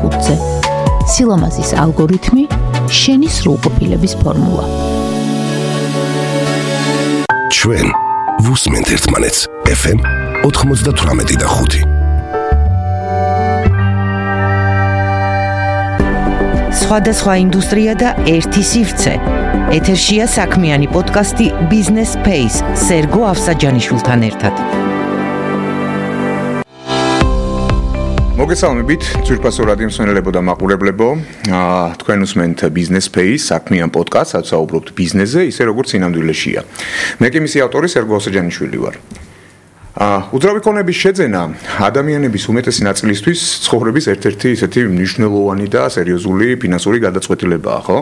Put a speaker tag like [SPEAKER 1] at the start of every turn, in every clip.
[SPEAKER 1] 5-ზე. სილამაზის ალგორითმი, შენი სრულყოფილების ფორმულა.
[SPEAKER 2] ჩვენ ვუსმენთ ერთმანეთს FM 98.5.
[SPEAKER 3] სხვადასხვა ინდუსტრია და ერთი სივრცე. ეთერშია საქმიანი პოდკასტი Business Space სერგო ავსაჯანიშვილთან ერთად.
[SPEAKER 4] მოგესალმებით, ძვირფასო რადიო მსმენელებო და მაყურებლებო. თქვენ უსმენთ Business Space საქმიან პოდკასტს, სადაც საუბრობთ ბიზნესზე, ისე როგორც სინამდვილეშია. მე კი მისი ავტორი სერგო ავსაჯანიშვილი ვარ. უძრავი ქონების შეძენა ადამიანების უმეტესი ნაწილისთვის ცხოვრების ერთ-ერთი ისეთი მნიშვნელოვანი და სერიოზული ფინანსური გადაწყვეტილებაა, ხო?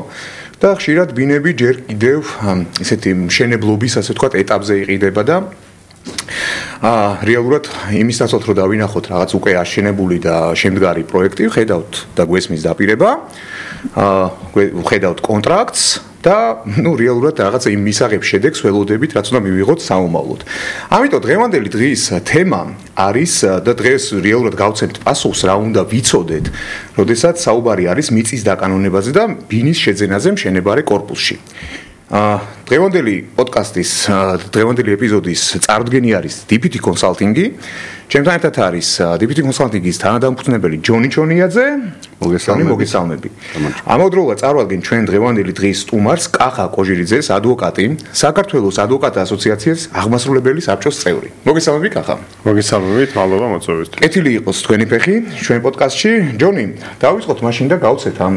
[SPEAKER 4] და ხშირად ბინები ჯერ კიდევ ისეთი მშენებლობის, ასე ვთქვათ, ეტაპზე იყიდება და რეალურად იმის დაცვად რომ დავინახოთ რაღაც უკვე აშენებული და შემდგარი პროექტი, ხედავთ და გვესმის დაპირება, ხედავთ კონტრაქტს და რეალურად რაღაცა იმ მისაღებს შედეგს ველოდებით, რაც უნდა მივიღოთ საომავლოდ. ამიტომ დღევანდელი დღის თემა არის და დღეს რეალურად გავცემთ პასუხს, რა უნდა ვიცოდეთ, როდესაც საუბარი არის მიწის დაკანონებაზე და ბინის შეძენაზე მშენებარე კორპუსში. დღევანდელი პოდკასტის, დღევანდელი ეპიზოდის წარდგენი არის DPT Consulting-ი. ჩემთან ერთად არის DPT Consulting-ის თანადამფუძნებელი ჯონი ჩონიაძე. მოგესალმები. ამავდროულად წარვადგენ ჩვენ დღევანდელი დღის სტუმარს კახა კოჟირიძეს, ადვოკატი, საქართველოს ადვოკატთა ასოციაციის აღმასრულებელი საბჭოს წევრი. მოგესალმები კახა.
[SPEAKER 5] მოგესალმებით, მადლობა მოწვევისთვის.
[SPEAKER 4] კეთილი იყოს თქვენი ფეხი ჩვენ პოდკასტში. ჯონი, დავიწყოთ მაშინ და გავცეთ ამ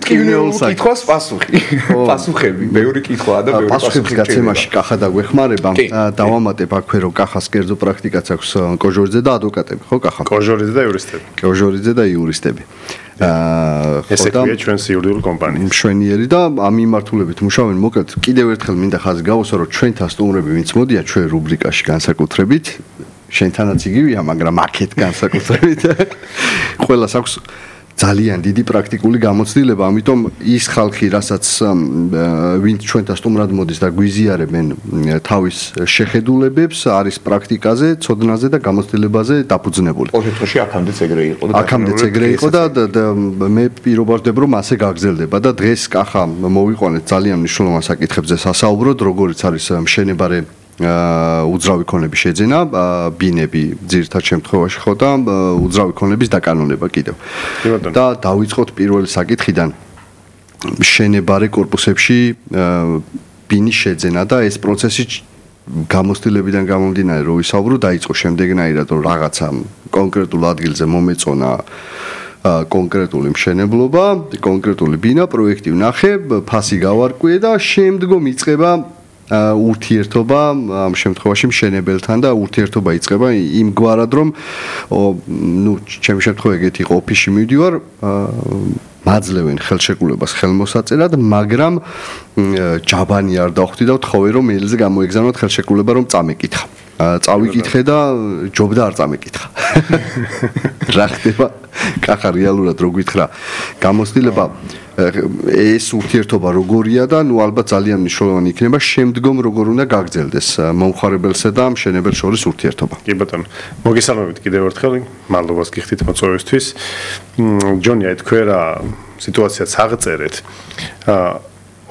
[SPEAKER 4] კითხვას პასუხი. პასუხები, ბევრი კითხვაა და ბევრი
[SPEAKER 5] პასუხების გაცემაში კახა დაგვეხმარება. დავამატებ აქვე რომ კახას კერძო პრაქტიკაც აქვს კოჟორიძე და ადვოკატები, ხო კახა? კოჟორიძე და იურისტები. კოჟორიძე და იურისტები.
[SPEAKER 4] ესე ქვია ჩვენს იურიდიული კომპანია.
[SPEAKER 5] მშვენიერი და ამ მიმართულებით მუშაობენ. მოკლედ კიდევ ერთხელ მინდა ხაზი გავუსვა, რომ ჩვენთან სტუმრები ვინც მოდიან ჩვენ რუბრიკაში განსაკუთრებით, შენთანაც იგივეა, მაგრამ აქეთ განსაკუთრებით ყველას აქვს ძალიან დიდი პრაქტიკული გამოცდილება, ამიტომ ის ხალხი, რასაც ვინც ჩვენთან სტუმრად მოდის და გვიზიარებენ თავის შეხედულებებს, არის პრაქტიკაზე, ცოდნაზე და გამოცდილებაზე დაფუძნებული.
[SPEAKER 4] ოთხში აქამდეც ეგრე იყო და
[SPEAKER 5] აქამდეც ეგრე იყო და მე პირობა ვждებ, რომ ასე გაგრძელდება და დღეს კახა მოვიყვანეთ ძალიან მნიშვნელოვან საკითხებზე სასაუბროდ, როგორიც არის მშენებარე უძრავი ქონების შეძენა, ბინები ძირითად შემთხვევაში ხო და უძრავი ქონების დაკანონება კიდევ. და დავიწყოთ პირველი საკითხიდან. მშენებარე კორპუსებში ბინის შეძენა და ეს პროცესი გამოცდილებიდან გამომდინარე რომ ვისაუბრო, დაიწყო შემდეგნაირად, რომ რაღაცა კონკრეტულ ადგილზე მომეწონა კონკრეტული მშენებლობა, კონკრეტული ბინა, პროექტი ვნახე, ფასი გავარკვიე და შემდგომ იწყება ურთიერთობა ამ შემთხვევაში მშენებელთან და ურთიერთობა იწყება იმგვარად რომ ჩემი შემთხვევა ეგეთი იყო, ოფისში მივდივარ, მაძლევენ ხელშეკრულებას ხელმოსაწერად, მაგრამ ჯაბანი არ დავხვდი და ვთხოვე რომ მეილზე გამოეგზავნოთ ხელშეკრულება რომ წამეკითხა. წავიკითხე და ჯობდა არ წამეკითხა. რა ხდება? კახა რეალურად რო გითხრა, გამოცდილება ეს ურთიერთობა როგორია და ალბათ ძალიან მნიშვნელოვანი იქნება შემდგომ როგორ უნდა გაგრძელდეს მომხარებელსა და მშენებელს შორის ურთიერთობა.
[SPEAKER 4] კი ბატონო, მოგესალმებით კიდევ ერთხელ, მადლობას გიხდით მოწვევისთვის. ჯონი, თქვენ რა სიტუაციაც აღწერეთ.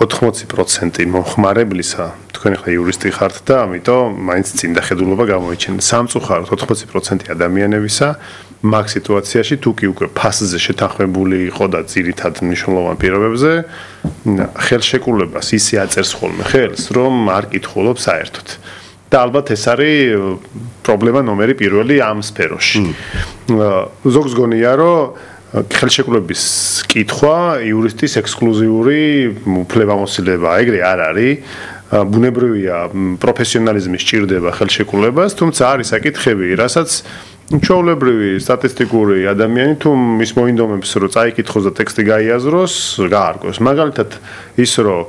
[SPEAKER 4] 80% მომხმარებლისა თქვენ ახლა იურისტი ხართ და ამიტომ მაინც წინ დახედულობა გამოიჩენთ. სამწუხაროდ 80% ადამიანებისა მაგ სიტუაციაში თუ კი უკვე ფასზე შეთანხმებული იყო და ძირითად მნიშვნელოვან პირობებზე ხელშეკრულებას ისე აწერს ხოლმე ხელს, რომ არ კითხულობ საერთოდ. და ალბათ ეს არის პრობლემა ნომერი პირველი ამ სფეროში. ზოგს გონია, რომ ხელშეკრულების კითხვა იურისტის ექსკლუზიური უფლებამოსილება, ეგრე არ არის. ბუნებრივია პროფესიონალიზმი სჭირდება ხელშეკრულებას, თუმცა არის საკითხები, რასაც ჩვეულებრივი სტატისტიკური ადამიანი თუ ის მოინდომებს, რომ წაიკითხოს და ტექსტი გაიაზროს, გაარკვევს. მაგალითად ის, რომ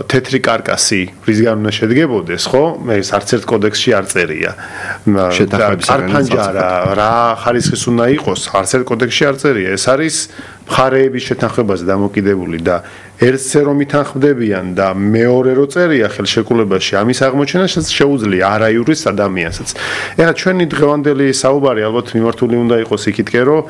[SPEAKER 4] თეთრი კარკასი რისგან უნდა შედგებოდეს, ხო? ეს არც ერთ კოდექსში არ წერია. არფანჯარა რა ხარისხის უნდა იყოს, არც ერთ კოდექსში არ წერია. ეს არის მხარეების შეთანხმებაზე დამოკიდებული და ერთზე რომ ითანხმდებიან და მეორე რო წერია ხელშეკრულებაში ამის აღმოჩენა შეუძლია არაიურის ადამიანსაც. ეხლა ჩვენი დღევანდელი საუბარი ალბათ მიმართული უნდა იყოს იქითკენ, რომ